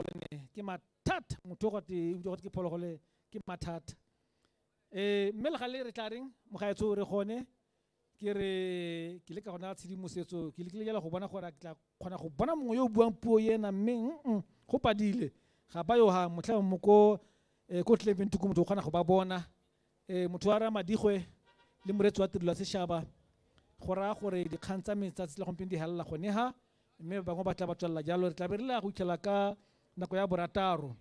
Phologolo ne ke mathata, motho go te utlwa gote ke phologolo ke mathata. Mme le gale re tla reng mogaetsho, re gone ke re ke le ka gona tshedimosetso, ke lekile jala go bona gore ke tla kgona go bona mongwe yo o buang puo ena, mme go padile, ga ba yo. Ha motlha mo ko ko Clement ko motho o kgona go ba bona. Motho wa Ramadigwe le moretsi wa tirelo ya setšhaba, go raya gore dikgang tsa me tsatsi la gompieno di helela gone ha, mme ba bangwe ba tla ba tswelela jalo. Re tla be re le ya go itlhela ka nako ya 6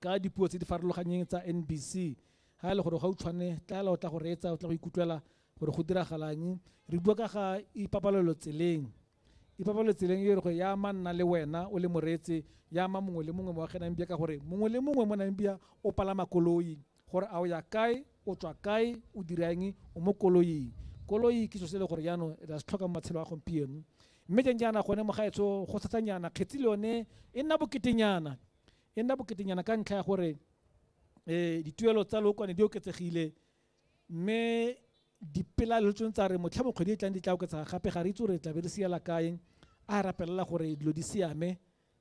ka dipuo tse di farologanyeng tsa NBC. Ha e le gore gautshwane tlaela o tla go reetsa, o tla go ikutlwela gore go diragalang. Re bua ka ga ipabalelo tseleng. Ipabalelo tseleng e re go ya ama nna le wena o le moreetsi, ya ama mongwe le mongwe mo ga Namibia, ka gore mongwe le mongwe mo Namibia o palama koloi. Gore a o ya kae, o tswa kae, o dirang, o mo koloing. Koloi ke selo se e le gore jaanong re a se tlhoka mo matshelo a gompieno. Mme jang jaana gone mogaetsho go thatanyana, kgetsi le yone e nna boketenyana, e nna boketenyana ka ntlha ya gore dituelo tsa lookwane di oketsegile, mme dipelaelo tsone tsa re motlha mo kgwedi e tlang di tla oketsega gape. Ga re itse gore re tla be re siela kae. A rapelela gore dilo di siame,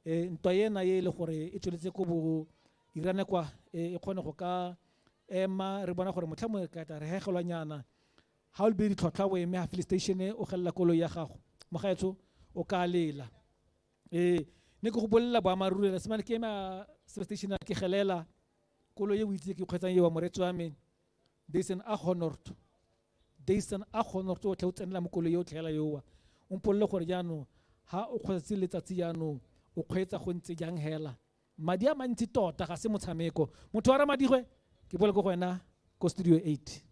ntwa ena e le gore e tsweletse ko bo Irane kwa, e kgone go ka ema, re bona gore motlha mo ka tla re hegelwanyana. Ha o lebile ditlhotlhwa, o eme ha filling station, o gelela koloi ya gago, mogaetsho o ka lela. Ne ke go bolelela boammaaruri, re semane ke ema station ke gelela koloi e o itse ke kgweetsang eo, moreetsi wa me, Datsun Agonort, Datsun Agonort o tlhe o tsenela mo koloi e o tlhela yoa. O mpolele gore jaanong ha o kgweetsa letsatsi jaanong o kgweetsa go ntse jang hela. Madi a mantsi tota, ga se motshameko. Motho wa Ramadigwe, ke boele ko go wena ko studio 8.